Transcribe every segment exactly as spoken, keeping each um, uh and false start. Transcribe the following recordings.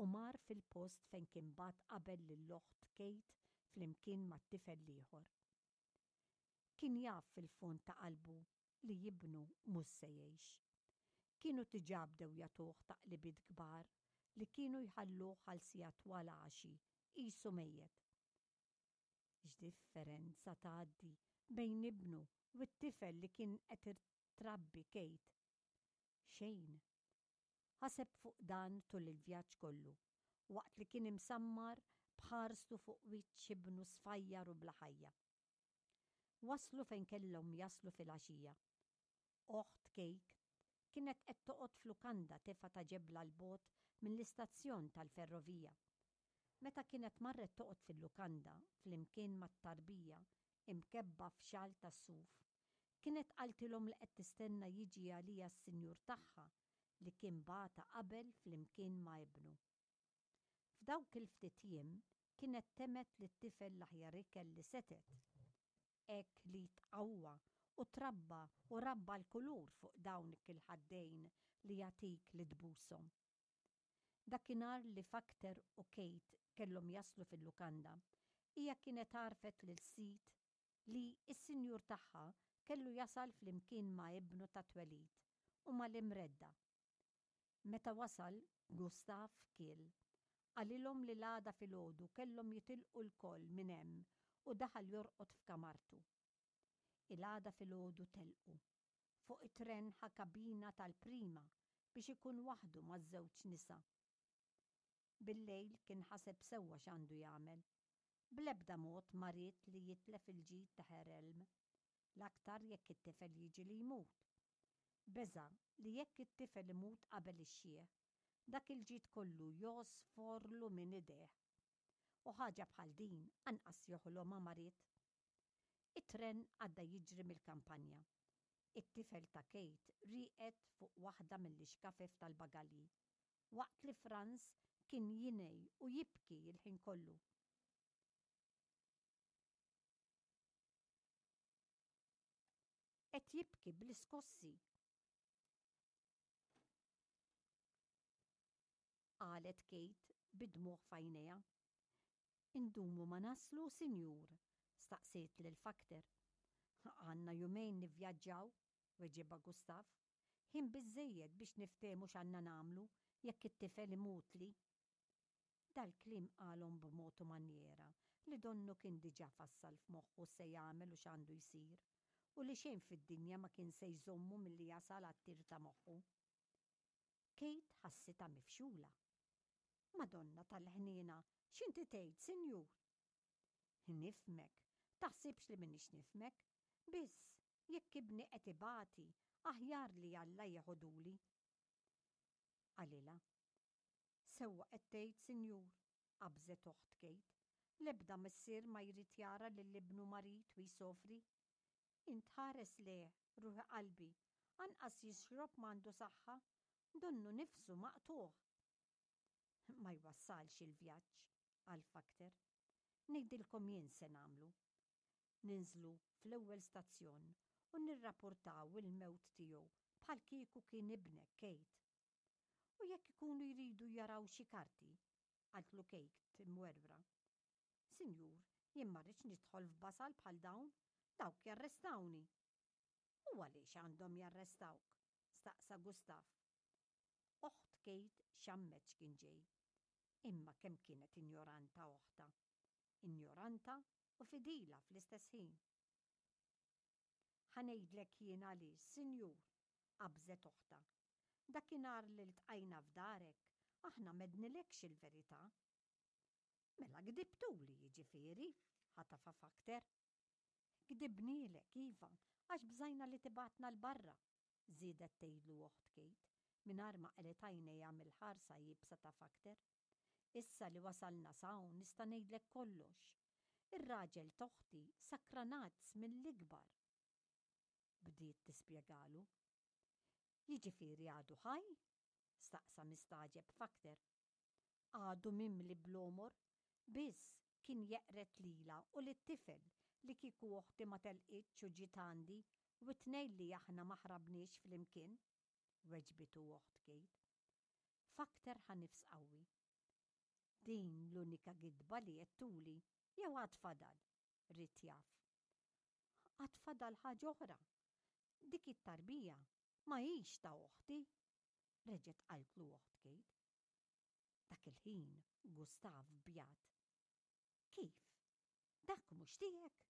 u mar fil-post fejn kien bagħat qabel lil oħt Kate flimkien mat-tifel l-ieħor. Kien jaf fil-fond ta' qalbu li ibnu mhux se jgħix. Kienu diġà bdew jagħtuh taqlibiet kbar li kienu jħalluh għal sigħat twal għaxi qisu mejjet. X'differenza tgħaddi bejn ibnu u t-tifel li kien qed trabbi Kate? Xejn. Ħaseb fuq dan tul il-vjaġġ kollu, waqt li kien imsammar b'ħarstu fuq wiċċ ibnu sfajjar u bla ħajja. Waslu fejn kellhom jaslu fil-għaxija. Oħt Kate kienet qed toqgħod f'lukanda tefgħa ta' ġebla 'l bogħod mill-istazzjon tal-ferrovija. Meta kienet marret toqgħod fil-lukanda flimkien mat-tarbija imkebba f'xal tas-suf, kienet qaltilhom li qed tistenna jiġi għaliha s-sinjur tagħha li kien bagħatha qabel flimkien ma' ibnu. F'dawk il-ftit jiem kienet temgħet lit-tifel l-aħjar ikel li setgħet. Hekk li tqawwa u trabba u rabba l-kulur fuq dawn il-ħaddejn li jagħtik li tbushom. Dakinhar li Fakter u Kate kellhom jaslu fil-lukanda, hija kienet għarrfet lil sid li s-sinjur tagħha kellu jasal flimkien ma' ibnu ta' twelid u mal-imredda. Meta wasal, Gustav kiel. Qalilhom li l-għada filgħodu kellhom jitilqu lkoll minn hemm u daħal jorqod f'kamartu. Il-għada filgħodu telqu. Fuq it-tren ħa kabina tal-prima biex ikun waħdu maż-żewġ nisa. Bil-lejl kien ħaseb sewwa x'għandu jagħmel. Bl-ebda mod ma ried li jitlef il-ġid ta' Herr Elm. L-aktar jekk it-tifel jiġi li jmut. Beża' li jekk it-tifel imut qabel ix-xiħ, dak il-ġid kollu josforlu minn idejh. U ħaġa bħal din anqas joħlomha ma ried. It-tren għadda jiġri mill-kampanja. It-tifel ta' Kate rieqed fuq waħda mill-ixkafef tal-bagalji, waqt li Franz kien jingħi u jibki il-ħin kollu. Qed jibki bl-iskossi, qalet Kate bid-dmugħ f'għajnejha. Indumu ma naslu, sinjur? Staqsiet lil Fakter. Għandna jumejn nivvjaġġaw, weġibha Gustav. Ħin biżżejjed biex niftehmu x'għandna nagħmlu jekk it-tifel imutli. Dal-kliem qalhom b'mod u manjera li donnu kien diġà fassal f'moħħu se jagħmel u x'għandu jsir, u li xejn fid-dinja ma kien se jżommu milli jasal għat-tir ta' moħħu. Kate ħassitha mifxula. Madonna tal-ħniena, x'inti tgħid, sinjur? Nifhmek, taħsibx li m'iniex nifhmek, biss jekk ibni qed ibati, aħjar li Alla jeħoduli. Qalilha. Sewwa qed tgħid, sinjur, qabżet oħt Kate. L-ebda missier ma jrid jara lil ibnu marid u jsofri. Int ħares lejh, ruħi qalbi, anqas jixrob m'għandu saħħa, donnu nifsu maqtugħ. Ma jwassalx il-vjaġġ, qal Fakter. Ngħidilkom jien se nagħmlu. Ninżlu fl-ewwel stazzjon u nirrapportaw il-mewt tiegħu bħal kieku kien ibnek Kate. U jekk ikunu jridu jaraw xi karti, qaltlu Kate imwerwra. Sinjur, jien ma rridx nidħol f'basal bħal dawn, dawk jarrestawni. U għaliex għandhom jarrestawk? Staqsa Gustav. Oħt Kate xammet x'kien ġej. Imma kemm kienet injoranta oħtha. Injoranta u fidila fl-istess ħin. Ħa ngħidlek jien għaliex, sinjur, qabżet oħtha. Dakinhar li ltqajna f'darek, aħna m'għednilekx il-verità. Mela gdibtuli jiġifieri, ħatafa Fakter. Gdibnielek, iva, għax bżajna li tibgħatna 'l barra, żiedet tgħidlu oħt Kate, mingħajr ma qelgħet għajnejha mill-ħarsa iebsa ta' Fakter. Issa li wasalna s'hawn nista' ngħidlek kollox. Ir-raġel t'oħti sakranazz mill-ikbar. Bdiet tispjegalu. Jiġifieri għadu ħaj? Staqsa mistagħġeb Fakter. Għadu mimli bl-għomor, biss kien jeqred lilha u lit-tifel li kieku oħti ma telqitx u ġiet għandi u t-tnejn li aħna ma ħrabniex flimkien, weġbitu oħt Kate. Fakter ħa nifs qawwi. Din l-unika gidba li għedtuli jew għad fadal? Ried jaf. Għad fadal ħaġa oħra. Dik it-tarbija ma hix ta' oħti, reġgħet qaltlu oħt Kate. Dak il-ħin Gustav bjad. Kif? Dak mhux tiegħek?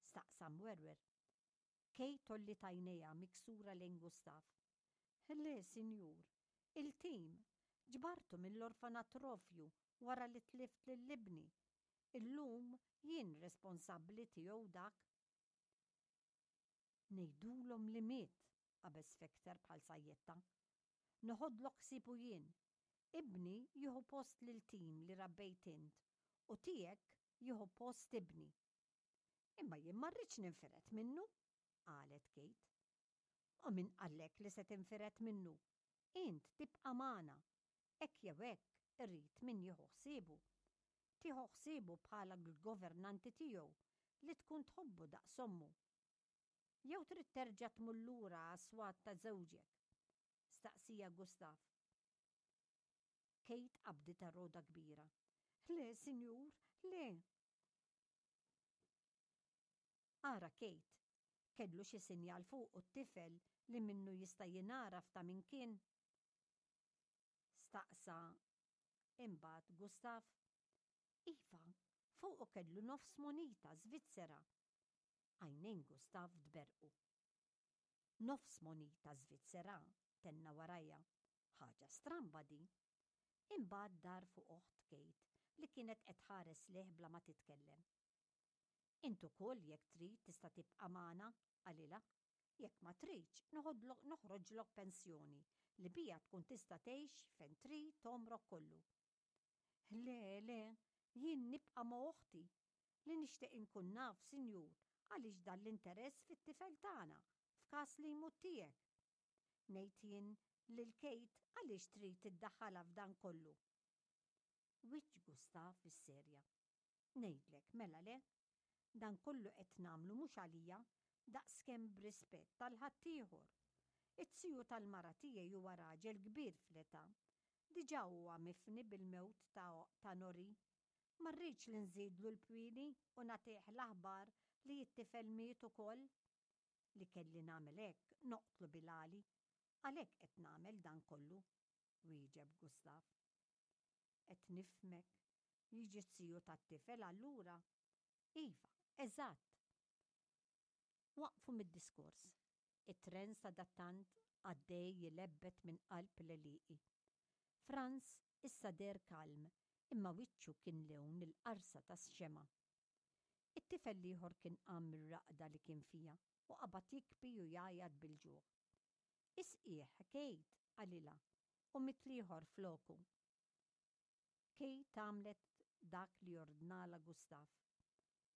Staqsa mwerwer. Kate għolliet għajnejha miksura lejn Gustav. Le, sinjur, il-tim ġbartu mill-orfanatrofju wara li tlift lil ibni. Illum jien responsabbli tiegħu dak. Ngħidulhom li miet, qabeż Fekter bħal sajjetta. Noħodlok ħsiebu jien. Ibni jieħu post lil Tim li rabbejt int u tiegħek jieħu post ibni. Imma jien ma rridx ninfired minnu, qalet Kate. U min qallek li se tinfired minnu? Int tibqa' magħna. Hekk jew hekk irrid min jieħu ħsiebu. Tieħu ħsiebu bħala l-governanti tiegħu li tkun tħobbu daqs ommu. Jew trid terġa' tmur lura għas-swat ta' żewġek? Staqsieha Gustav. Kate qabditha rogħda kbira. Le, sinjur, le. Ara Kate, kellu xi sinjal fuqu t-tifel li minnu jista' jingħaraf ta' min kien? Staqsa imbagħad Gustav. Iva, fuqu kellu nofs munita Svizzera. Għajnejn Gustav tberrqu. Nofs munita Svizzera, tenna warajha. Ħaġa stramba din. Imbagħad dar fuq oħt Kate li kienet qed tħares lejh bla ma titkellem. Int ukoll jekk trid tista' tibqa' magħna, qalilha. Jekk ma tridx, noħroġlok pensjoni li biha tkun tista' tgħix fejn trid għomrok kollu. Le, le, jien nibqa' ma' oħti. Li nixtieq inkun naf, sinjur, għaliex dan l-interess fit-tifel tagħna f'każ li jmut tiegħek. Ngħid jien lil Kate għaliex trid tiddaħħalha f'dan kollu. Wiċċ Gustav isserja. Ngħidlek, mela le? Dan kollu qed nagħmlu mhux għalija, daqskemm b'rispett għal ħaddieħor. It-tiju tal-mara tiegħi huwa raġel kbir fl-età. Diġà huwa mifni bil-mewt ta' Nori. Ma rridx li nżidlu l-pwieni u nagħtih l-aħbar li t-tifel miet ukoll. Li kelli nagħmel hekk noqtlu bil-għali. Għalhekk qed nagħmel dan kollu, wieġeb Gustav. Qed nifhmek. Jiġi t-tiju tat-tifel allura? Iva, eżatt. Waqfu mid-diskors. It-tren sadattant għaddej jilebbet minn qalb l-għelieqi. Franz issa deher kalm, imma wiċċu kien lewn il-qarsa tax-xemgħa. It-tifel l-ieħor kien qam mir-raqda li kien fiha u qabad jikbi u jgħajjat bil-ġuħ. Isqih, Kate, qalilha, u miet l-ieħor floku. Kate għamlet dak li ordnalha Gustav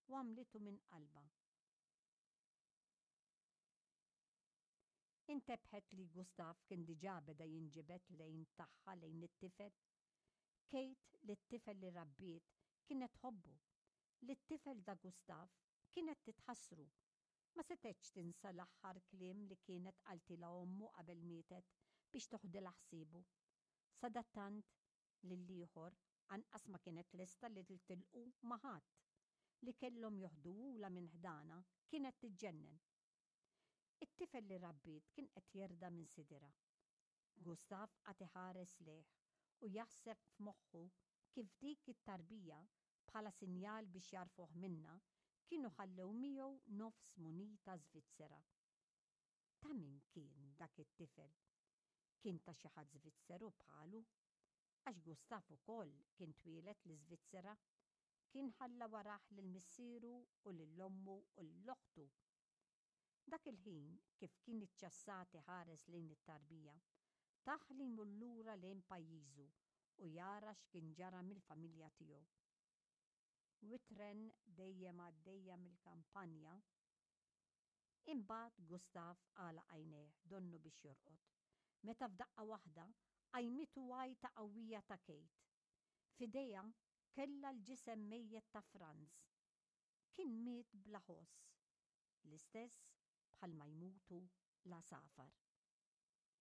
u għamlitu minn qalbha. Intebħet li Gustav kien diġà beda jinġibed lejn tagħha lejn it-tifel. Kate li t-tifel li rabbiet kienet tħobbu, li t-tifel da Gustav kienet titħassru. Ma setgħetx tinsa l-aħħar kliem li kienet qaltilha ommu qabel mietet biex toħdilha ħsiebu. Sadattant lill-ieħor anqas ma kienet lesta li tilqu ma' ħadd. Li kellhom joħduhulha minn ħdana kienet tiġġennen. It-tifel li rabbiet kien qed jerda' minn sidirha. Gustav qagħad iħares lejh u jaħseb f'moħħu kif dik it-tarbija, bħala sinjal biex jagħrfuh minnha, kienu ħallew miegħu nofs munita Svizzera. Ta' min kien dak it-tifel? Kien ta' xi ħadd Svizzeru bħalu? Għax Gustav ukoll kien twieled l-Iżvizzera. Kien ħalla warah lil missieru u lil ommu u lil oħtu. Dak il-ħin, kif kien iċċassat iħares lejn it-tarbija, tah li jmur lura lejn pajjiżu u jara x'kien ġara mill-familja tiegħu. U t-tren dejjem għaddejja mill-kampanja. Imbagħad Gustav għalaq għajnejh donnu biex jorqod, meta f'daqqa waħda qajmitu għajta qawwija ta' Kate. F'idejha kellha l-ġisem mejjet ta' Franz. Kien miet bla ħoss, l-istess bħalma jmutu l-għasafar.